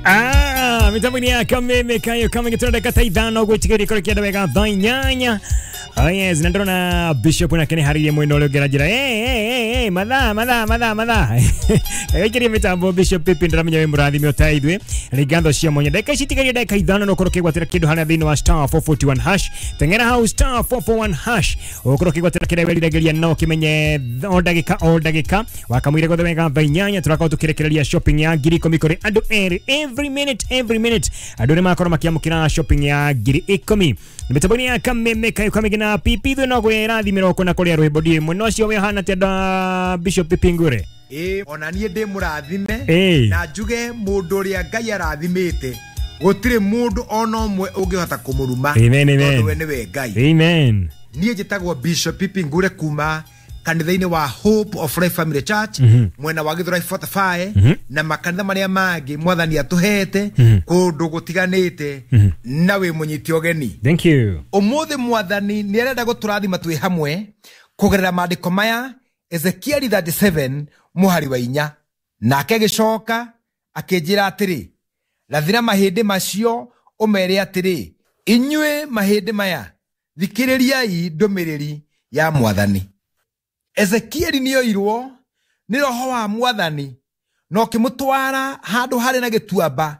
Mitambo-inĩ ya Kameme kayo kamenge tũrenda dakika ta 5 gwĩtigĩria kũrĩ kĩenda wega thaa 8. Oh yes, na ndĩrona Bishop nake nĩ harĩirie mwena ũrĩa ũngĩ aranjĩra hey, hey, hey, hey, mathaa mathaa mathaa mathaa. Gaikirie mitambo Bishop Pipi, ndĩramenya wĩ mũrathime ũta ithuĩ. Nĩ ngatho cia mwanya. Ndagĩka ici itigarie ndagĩka 5 no ũkorwo ũkĩgwatĩra kĩndũ harĩa thĩinĩ wa star 441 hash. Teng'era hau star 441 hash. Ũkorwo ũkĩgwatĩra kĩrĩa wĩriragĩria no ũkĩmenye o ndagĩka o ndagĩka. Wakamũire gothe wega thaa 8 tũrakorwo tũkĩrekereria shopping ya 10,000 kũrĩ andũ erĩ every minute every minute. Andũ nĩ makorwo makĩamũkĩra shopping ya 10,000. Mĩtambo-inĩ ya Kameme kayo kamenge na Pipi ithuĩ no kwĩrathimĩra ũkũ na kũrĩa rwĩmbo ndiĩ mwena ũcio wĩ hana atĩa da Bishop Pipi Ngure? Ĩĩ, ona niĩ ndĩ mũrathime. Ĩĩ. Na njuge mũndũ ũrĩa Ngai arathimĩte gũtirĩ mũndũ ona ũmwe ũngĩhota kũmũruma. Amen, amen. Tondũ we nĩwe Ngai. Amen. Niĩ njĩtagwo Bishop Pipi Ngure kuma kanitha-inĩ wa Hope of Life Family Church, mwena wa Githurai 45, na makanitha marĩa mangĩ mwathani atũhete kũndũ gũtiganĩte, na wĩ mũnyiti ũgeni. Thank you. Ũmũthĩ mwathani nĩ arenda gũtũrathima twĩ hamwe kũgerera maandĩko maya Ezekieli 37 mũhari wa 4. Nake agĩcoka akĩnjĩra atĩrĩ, rathĩra mahĩndĩ macio ũmere atĩrĩ, inyuĩ mahĩndĩ maya, thikĩrĩriai ndũmĩrĩri ya mwathani. Ezekieli nĩoirwo nĩ roho wa mwathani na ũkĩmũtwara handũ harĩ na gĩtuamba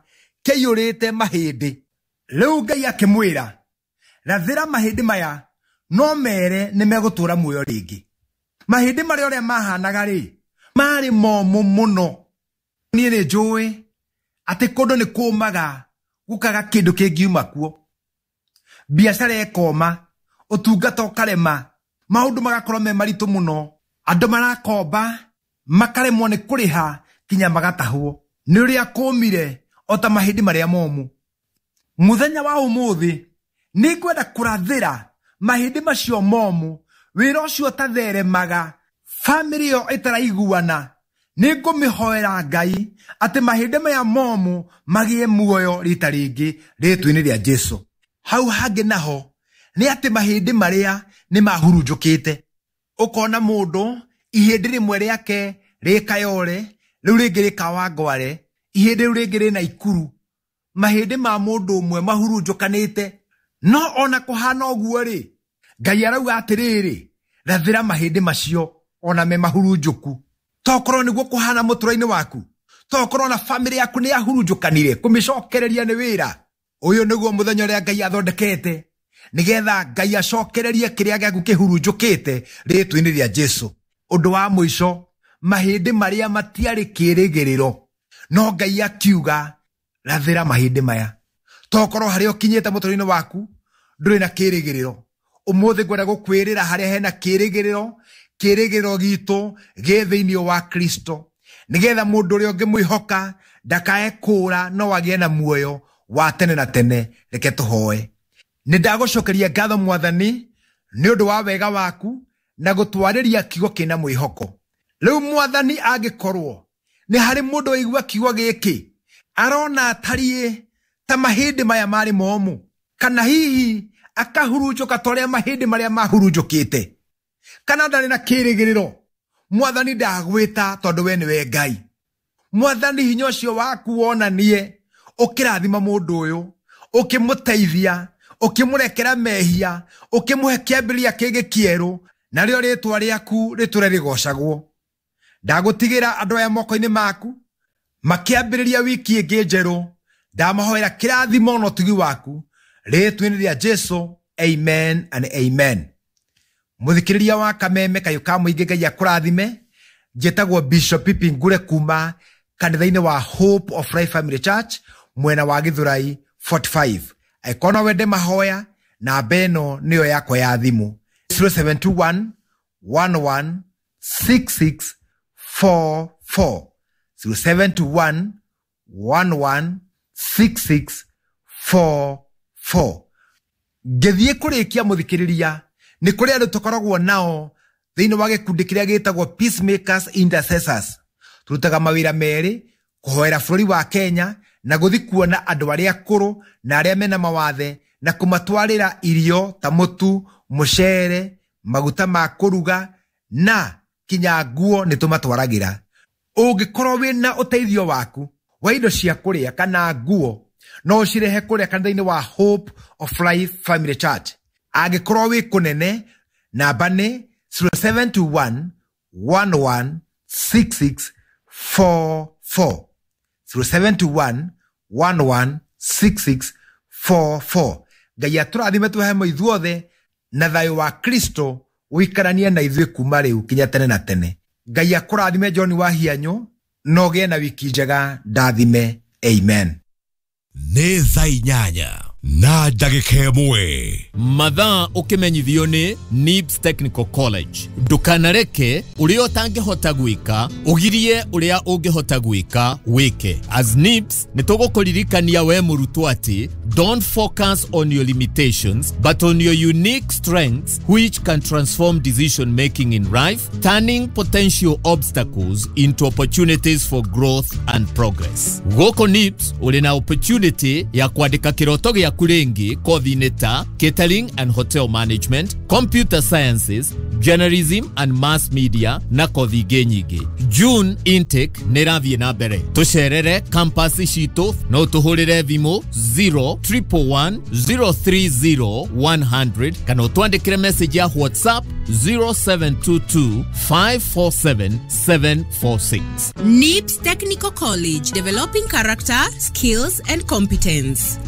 kĩiyũrĩte mahĩndĩ. Rĩu Ngai akĩmwĩra, rathĩra mahĩndĩ maya no mere nĩ megũtũũra muoyo rĩngĩ. Mahĩndĩ marĩa ũrĩa mahanaga rĩ, marĩ momũ mũno. Niĩ nĩ njũĩ atĩ kũndũ nĩ kũmaga gũkaga kĩndũ kĩngiuma kuo. Biacara ĩkoma, ũtungata ũkarema, maũndũ magakorwo me maritũ mũno. Andũ marakomba, makaremwo nĩ kũrĩha kinya magatahwo. Nĩ ũrĩa kũmire o ta mahĩndĩ marĩa momũ. Mũthenya wa ũmũthĩ nĩ ngwenda kũrathĩra mahĩndĩ macio momũ, wĩra ũcio ũtatheremaga, bamĩrĩ ĩyo ĩtaraiguana. Nĩ ngũmĩhoera Ngai atĩ mahĩndĩ maya momũ magĩe muoyo rita rĩngĩ rĩtwa-inĩ rĩa Jesũ. Hau hangĩ naho nĩ atĩ mahĩndĩ marĩa nĩ mahurunjũkĩte. Ũkona mũndũ ihĩndĩ rĩmwe rĩake rĩ Kayole, rĩu rĩngĩ rĩ Kawangware, ihĩndĩ rĩu rĩngĩ rĩ Naikuru. Mahĩndĩ ma mũndũ ũmwe mahurunjũkanĩte. No ona kũhana ũguo rĩ, Ngai arauga atĩrĩrĩ, rathĩra mahĩndĩ macio ona me mahurunjũku. Tokorwo nĩguo kũhana mũtũrĩre-inĩ waku, tokorwo na bamĩrĩ yaku nĩ yahurunjũkanire, kũmĩcokereria nĩ wĩra. Ũyũ nĩguo mũthenya ũrĩa Ngai athondekete, nĩgetha Ngai acokererie kĩrĩa gĩaku kĩhurunjũkĩte rĩtwa-inĩ rĩa Jesũ. Ũndũ wa mũico, mahĩndĩ marĩa matiarĩ kĩĩrĩgĩrĩro, no Ngai akiuga rathĩra mahĩndĩ maya. Tokorwo harĩa ũkinyĩte mũtũrĩre-inĩ waku ndũrĩ na kĩĩrĩgĩrĩro. Ũmũthĩ ngwenda gũkwĩrĩra harĩa hena kĩĩrĩgĩrĩro, kĩĩrĩgĩrĩro gitũ gĩ thĩinĩ wa Kristo, nĩgetha mũndũ ũrĩa ũngĩmwĩhoka ndakae kũũra no agĩe na muoyo wa tene na tene. Reke tũhoe. Nĩ ndagũcokeria ngatho mwathani nĩ ũndũ wa wega waku na gũtwarĩria kiugo kĩna mwĩhoko. Rĩu mwathani angĩkorwo nĩ harĩ mũndũ waigua kiugo gĩkĩ arona atariĩ ta mahĩndĩ maya marĩ momũ, kana hihi akahurunjũka ta ũrĩa mahĩndĩ marĩa mahurunjũkĩte, kana ndarĩ na kĩĩrĩgĩrĩro, mwathani ndagwĩta tondũ we nĩwe Ngai. Mwathani hinya ũcio waku wonanie ũkĩrathima mũndũ ũyũ, ũkĩmũteithia, ũkĩmũrekera mehia, ũkĩmũhe kĩambĩrĩria kĩngĩ kĩerũ, narĩo rĩtwa rĩaku rĩtũre rĩgocagwo. Ndagũtigĩra andũ aya moko-inĩ maku makĩambĩrĩria wiki ĩngĩ njerũ. Ndamahoera kĩrathimo na ũtugi waku rĩtwa-inĩ rĩa Jesũ. Amen and amen. Mũthikĩrĩria wa Kameme kayũ ka mũingĩ, Ngai akũrathime. Njĩtagwo Bishop Pipi Ngure kuma kanitha-inĩ wa Hope of Life Family Church mwena wa Githurai 45. Angĩkorwo no wende mahoya, namba ĩno nĩyo yakwa ya thimũ, 0721 11 66 44, 0721 11 66 44. Ngĩthiĩ kũrĩkia mũthikĩrĩria, nĩ kũrĩ andũ tũkoragwo nao thĩinĩ wa gĩkundi kĩrĩa gĩtagwo Peacemakers Intercessors. Tũrutaga mawĩra merĩ, kũhoera bũrũri wa Kenya na gũthiĩ kuona andũ arĩa akũrũ na arĩa mena mawathe na kũmatwarĩra irio ta mũtu, mũcere, maguta ma kũruga na kinya nguo nĩ tũmatwaragĩra. Ũngĩkorwo wĩna ũteithio waku Wa indo cia kũrĩa kana nguo no ũcirehe kũrĩa kanitha-inĩ wa Hope of Life Family Church. Angĩkorwo wĩ kũnene, namba nĩ 0721 116644, 0721 116644. Ngai atũrathime twĩ ithuothe na thayũ wa Kristo ũikaranie na ithuĩ kuma rĩu kinya tene na tene. Ngai akũrathime John wa Hianyũ, na ũgĩe na wiki njega. Ndathime. Amen. Nĩ thaa 8:01. Mathaa ũkĩmenyithio nĩ NIBS Technical College. Ndũkanareke ũrĩa ũtangĩhota gwĩka ũgirie ũrĩa ũngĩhota gwĩka wĩke. As NIBS nĩ tũgũkũririkania we mũrutwo atĩ don't focus on your limitations but on your unique strengths, which can transform decision making in life, turning potential obstacles into opportunities for growth and progress. Gũkũ NIBS ũrĩ na opportunity ya kwandĩka kĩroto gĩaku rĩngĩ kothi-inĩ ta catering and hotel management, computer sciences, journalism and mass media na kothi ingĩ nyingĩ. June intake nĩ ĩrathiĩ na mbere. Tũcerere campus citũ, no tũhũrĩre thimũ 0 111 030 100 kana ũtwandĩkĩre message ya WhatsApp 0722 547 746. NIBS Technical College, developing character, skills, and competence.